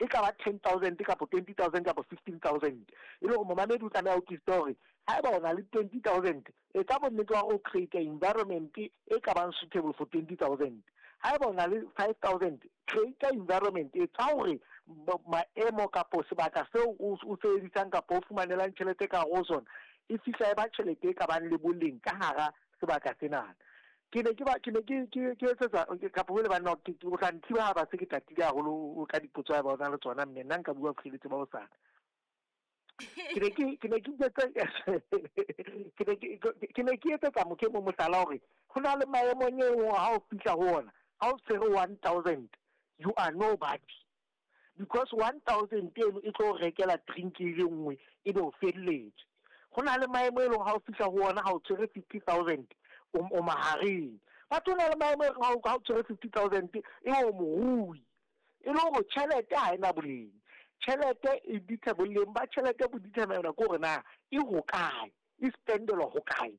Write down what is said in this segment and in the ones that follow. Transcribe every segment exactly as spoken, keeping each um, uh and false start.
E ka ba ten thousand kapa twenty thousand kapa fifteen thousand. E le hore momamedi o tlameha o utlwisise hore haeba o na le twenty thousand, etsa bonnete ba hore o create environment e ka bang suitable for twenty thousand. Haeba o na le five thousand, create environment e tsa hore maemo kapo sebaka seo o sebedisang kapa o fumanelang tjhelete ka hare ho sona e fihla e ba tjhelete e ka bang le boleng ka hara sebaka sena. Ke ne ke ba ke ne ke ke ke etsetsa kapa ho le banna ke o tla nthiba ha ba se ke tatile haholo ka dipotso ha ba ona le tsona, mme nna nka bua bohleletse ba hosane. Ke ne ke ke ne ke ke ne ke ke ne ke etsetsa motho e mong mohlala hore ho na le maemo eo ha o fihla ho ona, ha o tshwere one thousand, you are nobody. Because one thousand eno e tlo rekela drink e le nngwe e be o felletse. Ho na le maemo e leng ha o fihla ho ona ha o tshwere fifty thousand, o mahareng. Batho na le maemo ha o tshwere fifty thousand e o morui. E le hore tjhelete ha ena boleng. Tjhelete e ditha boleng ba tjhelete bo determine ke hore na e hokae, e spendelwa hokae.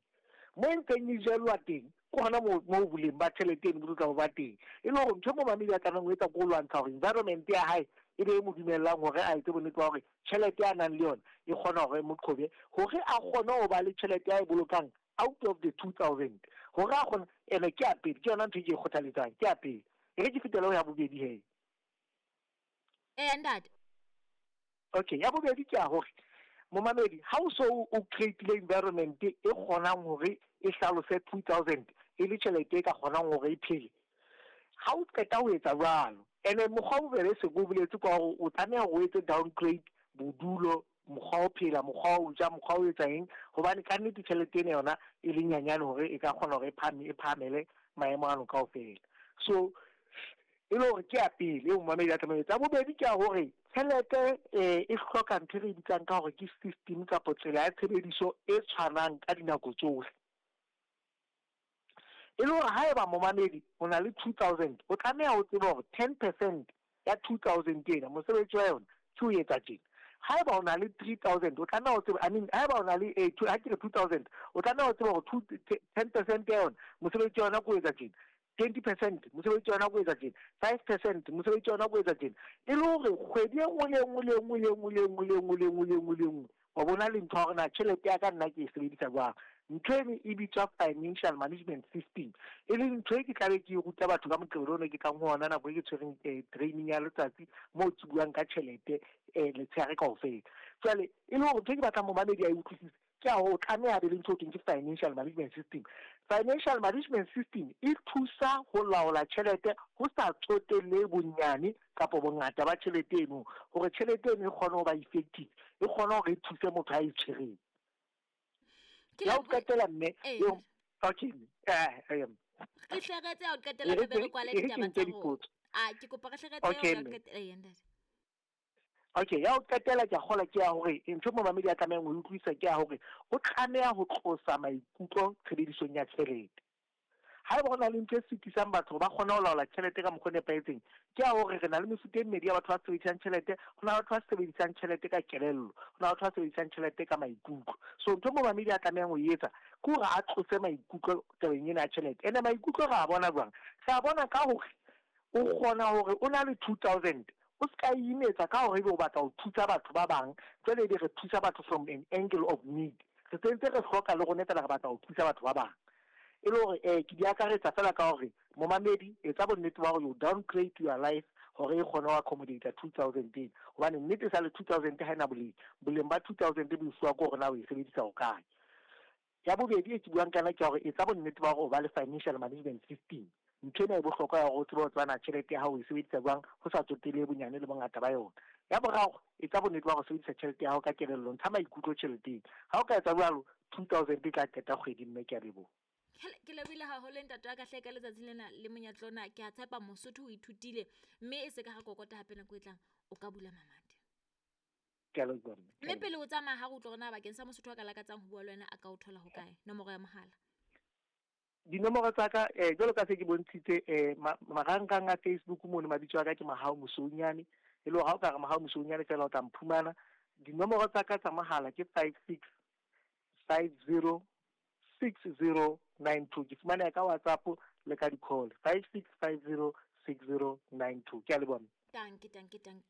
Mo e ntseng e jellwa teng ke hona moo moo boleng ba tjhelete eno bo tla ba teng. E le hore ntho e momamedi a tlamehang ho etsa ke ho lwantsha hore environment ya hae e be e mo dumellang hore a etse bonnete ba hore tjhelete a nang le yona e kgona hore e mo qhobe, hore a kgone ho ba le tjhelete a e bolokang out of the two thousand. Hore a kgone, ene ke ya pele, ke yona ntho e ke e kgothaletsang, ke ya pele. E re ke fetele ho ya bobedi he. Eh, ntate. Okay, ya bobedi ke ya hore momamedi ha o so o create-ile environment e kgonang hore e hlalose two thousand e le tjhelete e ka kgonang hore e phele. Ha o qeta ho etsa jwalo, ene mokgwa o bobebe se ko boletse ka hore o tlameha hore o etse downgrade bodulo, mokgwa o phela, mokgwa o ja, mokgwa o etsa eng, hobane ka nnete tjhelete ena yona e le nyanyane hore e ka kgona hore e phahame, e phahamele maemo ano kaofela. So e le hore ke ya pele eo momamedi a tlameha ho etsa. Ya bobedi ke ya hore tjhelete e hloka ntho e re bitsang ka hore ke system kapa tsela ya tshebediso e tshwanang ka dinako tsohle. E le hore haeba momamedi o na le two thousand, o tlameha ho tseba hore ten percent ya two thousand ena mosebetsi wa yona ke ho etsa tjena. Haeba o na le three thousand, o tlameha ho tseba, I mean haeba o na le eh ha ke re two thousand, o tlameha ho tseba hore two ten percent ya yona mosebetsi wa yona ke ho etsa tjena. twenty percent mosebetsi wa yona ke ho etsa tjena. five percent mosebetsi wa yona ke ho etsa tjena. E le hore kgwedi e nngwe le e nngwe le e nngwe le e nngwe le e nngwe le e nngwe le e nngwe le e nngwe le e nngwe wa bona le ntho ya hore na tjhelete ya ka nna ke e sebedisa jwang. Ntho eno e bitswa financial management system, e leng ntho e ke tlabe ke e ruta batho ka Moqebelo ono ke tlang ho ona nako e ke tshwereng training ya letsatsi moo ke buang ka tjhelete letshehare kaofela. Jwale e le hore ntho e ke batlang momamedi a e utlwisise ke ya hore o tlameha be le ntho e thweng ke financial management system. Financial management system e thusa ho laola tjhelete ho sa tsotelle bonyane kapa bongata ba tjhelete eno, hore tjhelete eno e kgone ho ba effective, e kgone hore e thuse motho a e tshwereng. Ya ho qetela mme, eo okay, eh eh re hle re tse ya ho qetela re be re kwale ditaba tsa rona. Ah, ke kopa re hle re tse ya ho qetela eh ntate. Okay, ya ho qetela ke a kgolwa ke ya hore ntho momamedi a tlamehang ho utlwisisa ke ya hore o tlameha ho tlosa maikutlo tshebedisong ya tjhelete. Haeba ho na le ntho e sitisang batho ba kgone ho laola tjhelete ka mokgwa o nepahetseng, ke ya hore re na le mefuta e mmedi ya batho ba sebedisang tjhelete. Ho na le batho ba sebedisang tjhelete ka kelello, ho na le batho ba sebedisang tjhelete ka maikutlo. So ntho momamedi a tlamehang ho e etsa ke hore a tlose maikutlo tabeng ena ya tjhelete. Ene maikutlo re a bona jwang? Re a bona ka hore o kgona hore o na le two thousand, o ska imetsa ka hore ebe o batla ho thusa batho ba bang, jwale ebe re thusa batho from an angle of need. Re sentse re hloka le rona fela re batla ho thusa batho ba bang. E le hore eh ke di akaretsa fela ka hore momamedi etsa bonnete ba hore you downgrade your life hore e kgone ho accommodate two thousand ena, hobane nnete sa le two thousand ha ena boleng. Boleng ba two thousand bo fuwa ke hore na o e sebedisa hokae. Ya bobedi e ke buang ka yona ke hore etsa bonnete ba hore o ba le financial management system. Ntho ena e bohlokwa ya hore o tsebe ho tseba na tjhelete ya hao o e sebedisa jwang ho sa tsotelle bonyane le bongata ba yona. Ya boraro, etsa bonnete ba hore o sebedisa tjhelete ya hao ka kelello, ntsha maikutlo tjheleteng. Ha o ka etsa jwalo, two thousand e tla qeta kgwedi mme ke a leboha. Ke lebohile haholo ntate wa ka hle ka letsatsi lena le monyetla ona. Ke a tshepa Mosotho o ithutile mme e se ka ra kokota hape nako e tlang o ka bula mamati. Ke a leboha mme. Mme pele o tsamaya ha re utlwa hore na bakeng sa Mosotho a ka lakatsang ho bua le wena a ka o thola hokae, nomoro ya mohala. Dinomoro tsa ka eh jwalo ka se ke bontshitse eh marangrang a Facebook mono mabitso a ka ke Mahao Mosounyane, e le hore ha o ka re Mahao Mosounyane fela o tla mphumana. Dinomoro tsa ka tsa mohala ke five six five zero six zero nine two. Ke fumaneha ka WhatsApp le ka di-call five six five zero six zero nine two. Ke a leboha. Danke, danke, danke.